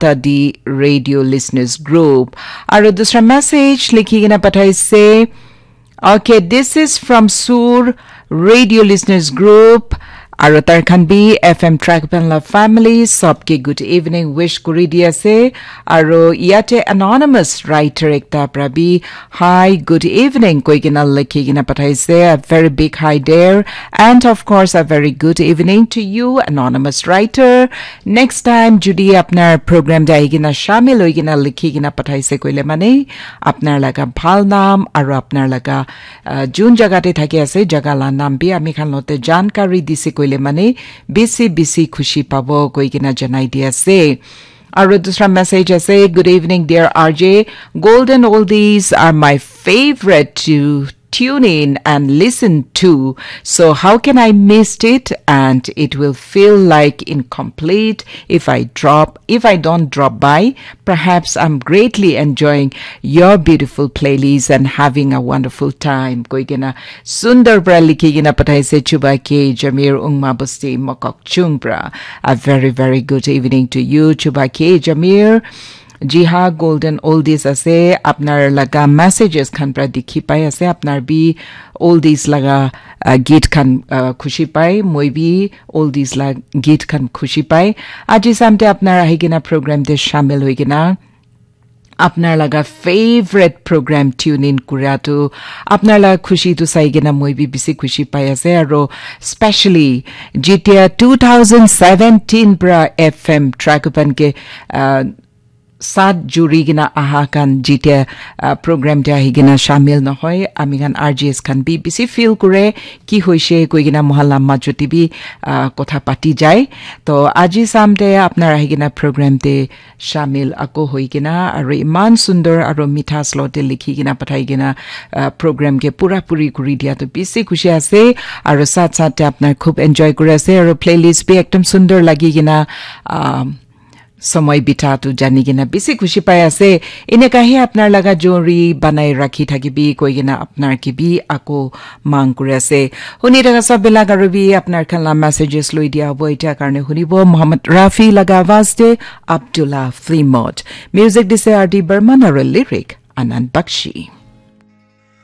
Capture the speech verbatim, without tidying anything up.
Tadi Radio Listeners Group. Aru dusra message likhi kena pathaise. Okay, this is from Sur Radio Listeners Group. Aru tar khan bi F M track pan la family, sabke good evening wish kuri di ase. Aru yate anonymous writer ekta pra bi, "Hi, good evening," koi kena likhi kena pathaise. A very big hi there. And of course, a very good evening to you, anonymous writer. Next time, jodi apnar program te ahi kena shamil hoi kena likhi kena pathaise koile mane, apnar laga bhal nam aru apnar laga, uh, jun jaga te thaki ase, jaga la nam bi ami khan lote jankari dise koile mane, bisi bisi khushi pabo koi kena janai di ase. Aru dusra message ase, "Good evening, dear R J. Golden oldies are my favorite to tune in and listen to. So how can I miss it? And it will feel like incomplete if I drop, if I don't drop by. Perhaps I'm greatly enjoying your beautiful playlist and having a wonderful time." Koi kena sundar pra likhi kena pathaise Chuba K Jamir Ungma Busti Mokok Chung pra. A very, very good evening to you, Chuba K Jamir. Ji ha, Golden Oldies ase, apnar laga messages khan pra dikhi pai ase, apnar bi oldies laga, uh, geet khan, uh, khushi pai, moi bi oldies la geet khan khushi pai. Aji samte apnar ahi kena program te shamil hoi kena apnar laga favorite program tune in kura tu, apnar laga khushi tu sai kena moi bi bisi khushi pai ase, aro specially jitia two thousand seventeen pra F M Trakupan ke, uh, sat juri kena aha khan jitia, uh, program te ahi kena shamil nohoi, ami khan R J S khan bi bisi feel kure, ki hoise koi kena mohan la majot te bi, uh, kotha pati jai. To aji samte apnar ahi kena program te shamil ako hoi kena, aro iman sundor aro mitha slow te likhi kena pathai kena, uh, program ke pura puri kuri dia to bisi khushi ase, aro sat sat te apnar khub enjoy kuri ase, aro playlist bi ekdom sundor lagi kena, um, samay bita tu jani kena bisi khushi pai ase. Eneka hi apnar laga jori banai rakhi thakibi koi kena apnar ke bi ako mang kuri ase. Huni thaka sab bilak aru bi apnar khan la messages loi dia hobo. Etia karne hunibo Muhammad Rafi laga awaz te Abdullah Flimot. Music dise R D Barman aru lyric Anand Bakshi.